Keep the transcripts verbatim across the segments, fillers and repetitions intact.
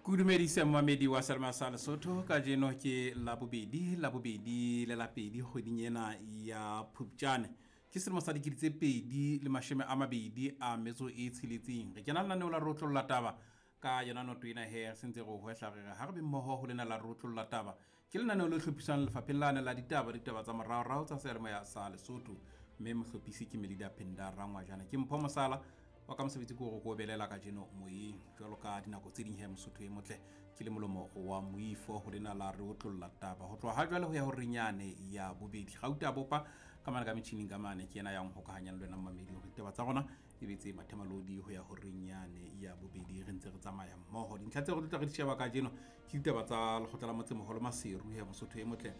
Kudumedise mmamedi wa Selma sa Lesotho kajeno ke Labobedi, Labobedi le la pedi kgweding ena ya Phupjane. Ke selemo sa dikete tse pedi le mashome a mabedi a metso e tsheletseng. Re kena lenaneo la Rotlolla Taba ka yona noto ena he re sentse re o hwehla re re ha re be mmoho ho lena la Rotlolla Taba. Ke lenaneo le hlophiswang lefapheng lane la ditaba, ditaba tsa moraorao tsa seyalemoya sa Lesotho. Mme mohlophisi ke Melida Penda Rangwajana. Ke Mpho Mosala wa ka mosebetsi ke hore ko belela kajeno moyeng jwalo ka dinako tse ding he Mosotho e motle ke le molomo wa moifo ho lena la re otlolla taba ho tloha ha jwale ho ya ho renyane ya bobedi. Gauta bopa ka mane ka metjhining ka mane ke yena yang hokahanyang le wena mmamedi hore ditaba tsa rona e be tse mathemalodi ho ya ho renyane ya bobedi. Re ntse re tsamaya mmoho. Dintlha tse re tlo tla re di sheba kajeno ke ditaba tsa lekgotla la motsemoholo Maseru he Mosotho e motle.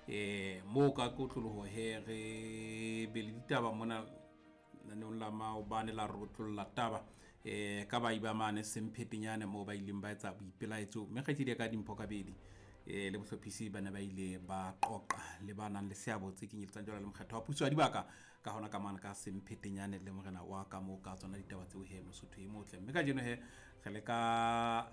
Eh moo ka kotloloho he re be le ditaba mona naneong la maobane la Rotlolla Taba eh ka ba iba mane Semphetenyane moo ba ileng ba etsa boipelaetso mme kgaitsedi ya ka Dimpho Kabedi eh le bohlophisi ba ne ba ile ba qoqa le ba nang le seabo tse kenyeletsang jwalo le mokgetho wa puso ya dibaka ka hona ka mane ka Semphetenyane le morena wa ka moo ka tsona ditaba tseo he Mosotho e motle. Mme kajeno he re le ka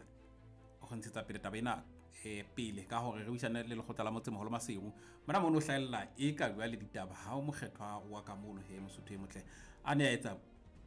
ho ntshetsa pele taba ena eh pele ka hore re buisane le lekgotla la motsemoholo Maseru mona mono hlahella e ka bua le ditaba ha o mokgethwa wa ka mono he Mosotho e motle a ne a etsa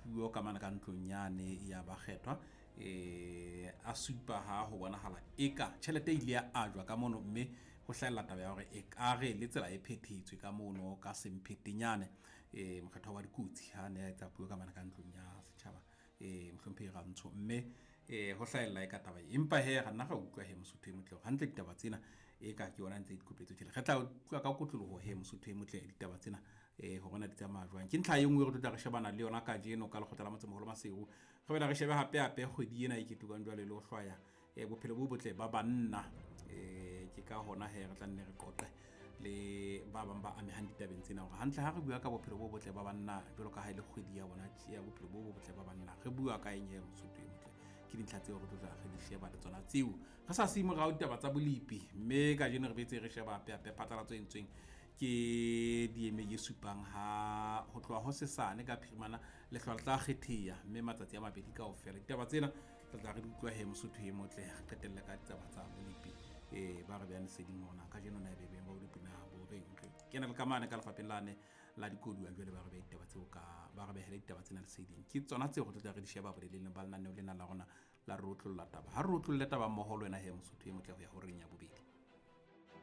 puo ka mane ka ntlong yane ya bakgethwa eh a supa ha ho bonahala eka tjhelete e ile ya ajwa ka mono mme ho hlahella taba ya hore e ka re le tsela e phethetswe ka mono ka Semphetenyane eh mokgethwa wa dikotsi ha ne a etsa puo ka mane ka ntlong ya setjhaba eh mohlomphehi Rantsho mme eh ho hlahella e ka taba e empa he re nna ra utlwa he Mosotho e motle hore hantle ditaba tsena e ka ke yona ntse di kopetswe tjela. Re tla utlwa ka kotloloho he Mosotho e motle ditaba tsena eh hore na di tsamaya jwang. Ke ntlha e nngwe re tlo tla re shebana le yona kajeno ka lekgotla la motsemoholo Maseru. Re bela re shebe hape hape kgwedi ena e ketekang jwale le ho hlwaya eh bophelo bo botle ba banna. Eh ke ka hona he re tla nne re qoqe le ba bang ba amehang ditabeng tsena hore hantle ha re bua ka bophelo bo botle ba banna jwalo ka ha e le kgwedi ya bona ya bophelo bo botle ba banna re bua ka eng he Mosotho e motle. Ke dintlha tseo re tlo tla re di sheba le tsona tseo re sa siye morao ditaba tsa bolepi mme kajeno re betse re sheba hape hape phatlalatso e entsweng ke D M A e supang ha ho tloha ho sesane ka phirimana lehlwa le tla kgetheha mme matsatsi a mabedi kaofela. Ditaba tsena re tla re di utlwa he Mosotho e motle re qetelle ka ditaba tsa bolepi eh ba re beha leseding hore na kajeno na e bebeng ba bolepi na bo reng. Re kena le ka mane ka lefapheng lane la dikoduwa jwale ba re beha ditaba tseo ka ba re behele ditaba tsena leseding. Ke tsona tseo re tlo tla re di sheba boleleng ba lenaneo lena la rona la Rotlolla Taba. Ha re rotlolle taba mmoho le wena he Mosotho e motle ho ya ho reng ya bobedi.